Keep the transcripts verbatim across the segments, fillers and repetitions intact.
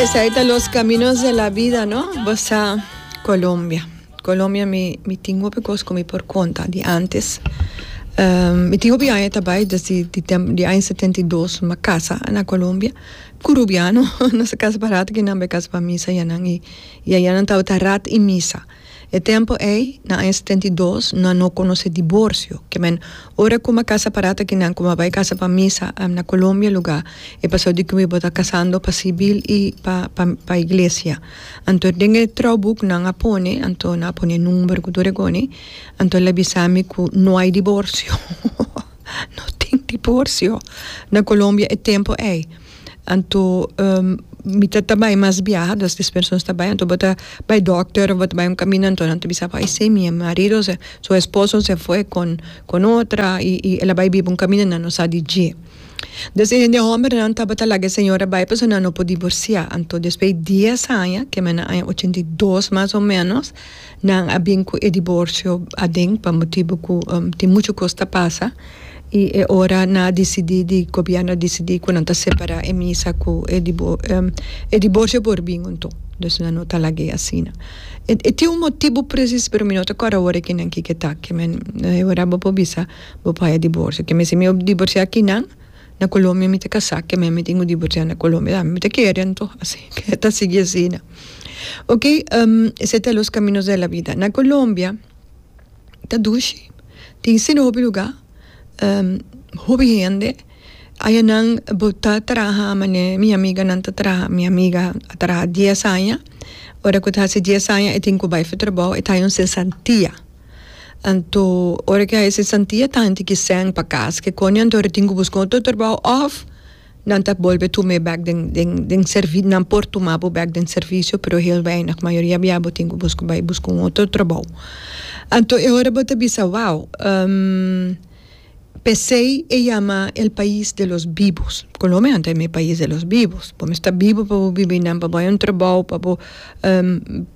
Esey ta los caminos de la vida, no? Bo sa Colombia. Colombia mi mi tin hopi cos cu mi por conta di antes. Um, mi tin hopi aña ta bay desde di tem di aña setenta i dos m'a casa na Colombia. Cu Rubiano, nos a casa pa rato ki nan bay casa pa misa ayanan y y ayanan tabata rat y misa. E tempo ey, na aña setenta i dos, nan no conoce divorcio. Ke men, ora cu m'a casa pa rato kinan cu m'a bay casa pa misa na Colombia lugar, e paso di cu mi bo ta casando pa civil y pa pa pa iglesia. Anto den e trouwboek nan a pone, anto nan a pone number cu tur e coni, anto el a bisa mi cu no hay divorcio. No tin divorcio na Colombia e tempo ey. Anto mi ta ta bai mas biaha, dus despues nos ta bai, anto bo ta bai dokter of bo ta bai un caminda, anto nan ta bisa bo, ay si, mi marido se, su esposo se fue con con otra y y el a bai biba un caminda, nan no sa di dje. Dus e hende hombernan tabata laga e señora bai pasobra nan no por divorcia. Anto despues di dies aña, keme na aña ochenta i dos mas o menos, nan a bin cu e divorcio aden pa motibo cu tin mucho cos ta pasa. Y e ora nan a dicidi di gobierno a dicidi cu nan ta separa e misa cu e e divorcio por bin anto. Dus nan no ta lag'e asina. E e tin un motibo precies pero mi no ta corda awor kinan kiko ta. Ke men e ora bo por bisa bo por haya divorcio. Ke men si mi divorcia kinan na Colombia mi ta casa ke men mi tin cu divorcia na Colombia mi ta kere anto asi ke ta sigui asina. Ok esey ta los caminos de la vida. Na Colombia ta dushi. Tin asina hopi lugar. Hopi hende ayanan bo ta traha mane mi amiganan ta traha mi amiga a traha dies aña ora ku ta hasi dies aña e tin ku bai for trabou e ta haña un sesantia anto ora ku e haña e sesantia ta haña tiki sèn pa kas ke koni anto e tin ku buska otro trabou òf nan ta bolbe tum'é bèk den den den servi nan por tuma bo bèk den servisio pero heel weinig mayoria bia bo tin ku buska bai buska un otro trabou anto e ora bo ta bisa wou p'esei e yama el pais de los vivos Colombia nan ta yama e pais de los vivos bo mester ta bibo pa bo biba einan pa bo haña un trabou pa bo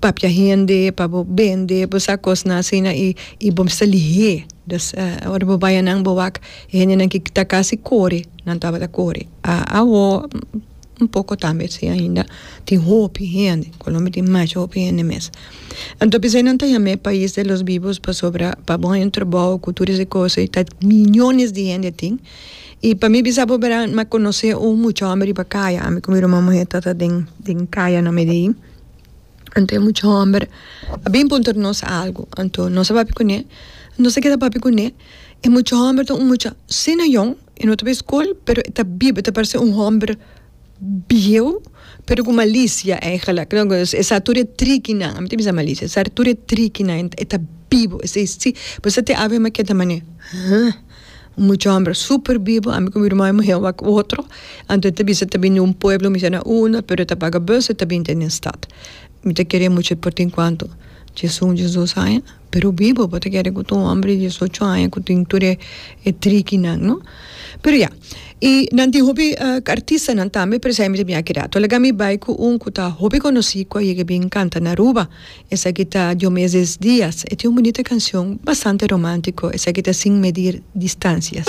papia hende pa bo bende bo sa kosnan asina i i bo mester lihé. Dus ora bo bai anan bo wak e hendenan ki ta kasi kore, nan tabata kore. Awo un poko tambe si ainda tin hopi hende, Colombia tin masha hopi hende mes. Anto p'esei nan ta yama e pais de los vivos pasobra pa bo haña un trabou ku tur esei kos ei ta miyones di hende tin. I pa mi bisa bo bera mi a konosé un mucha hòmber riba kaya, ami ku mi ruman muhé ta ta den den kaya na Medellin. Anto e mucha hòmber a bin puntra nos algu. Anto nos a papia kuné, nos a keda papia kuné. E mucha hòmber ta un mucha asina yòn, e no ta bai skol, pero e ta biba, e ta parse un hòmber bieu, pero ku malisia eigenlijk. E sa tur e trikinan, ami ta bisa malisia, e sa tur e trikinan, e ta bibu, esei si. Bo sa te awe mi a keda manera, huh? Un mucha hòmber super bibu, ami ku mi ruman muhé wak otro, anto e ta bisa ta bini un pueblo, mi sa na unda, pero e ta paga bus, e ta bini te den stad. Mi ta kere mucha por tin kuantu, diesun, diesdos aña, pero bibu, bo ta kere ku ta un hòmber di diesocho aña ku tin tur e e trikinan, no? Pero ya, i nan tin hopi artistanan tambe, pero esei mi ta bin aki rato. Laga mi bai ku un ku ta hopi konosí ku a yega bin kanta na Aruba. Esaki ta Diomedes Diaz. E tin un bunita cancion bastante romantico. Esaki ta Sin Medir Distancias.